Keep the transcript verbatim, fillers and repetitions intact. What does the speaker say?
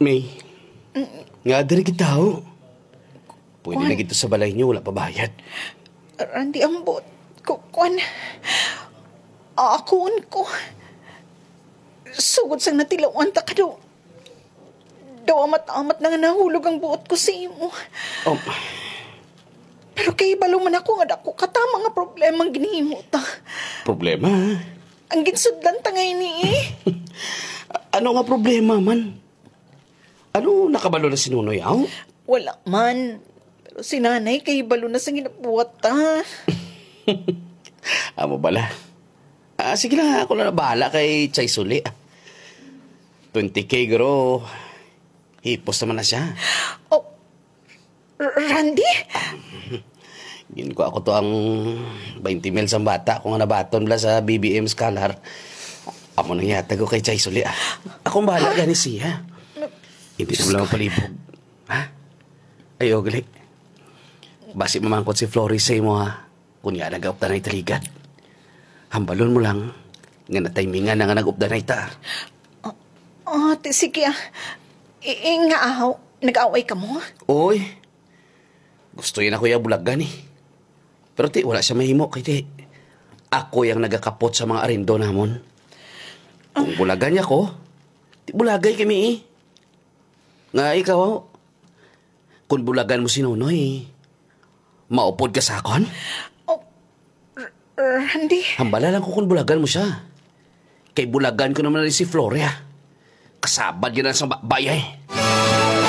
May, nga diri kita, ho. Pwede Kuan. na gito sa balay niyo, wala pa bayad. Randy, ang buot ko, kuan. Akuon ko. Sugod sang natilawan ta ka daw. Daw amat-amat na nga nahulog ang buot ko sa imo. Oh. Pero kahibalo man ako nga dako ka tama nga problema ang ginhimo ta. Problema? Ang ginsudlan ta nga ini, eh. Ano nga problema man? Ano, nakabalo na si Nonoy, aw? Wala man. Pero si Nanay kahibalo na sa ginabuhat ta. Amo bala. Ah, sige lang, ako na bahala kay Chay Suli. Twenty K, guro. Hipos naman na siya. Oh, R-, Randy? Ginkuha ko to ang twenty mil sang bata ko nga nabaton bala sa B B M Scholar. Amo nang ihatag ko kay Chay Suli, ah. Akong bahala gani siya. Hindi na mo lang palibog. Ha? Ay, ugli. Basi mamangkot si Flores sa imo, ha? Kunya nag-updanay ta ligad. Hambalon mo lang nga natimingan na nga nag-updanay ta. Ah, ah, ti-, sige, ah. I-, i-, nga, ah, nag-away ka mo? Oy, gusto yun ako yung bulagan, eh. Pero ti, wala siya mahimo kay ti, ako yung nagakapot sa mga arindo namon. Kung bulagan niya ko, ti bulagay kami, eh. Nga ikaw, kung bulagan mo si Nonoy, maupod ka sa akon? Oh, R-, Randy. Hambala lang ko kung bulagan mo siya. Kay bulagan ko naman na si Floria. Kasabad yun na sa ba-, bayay.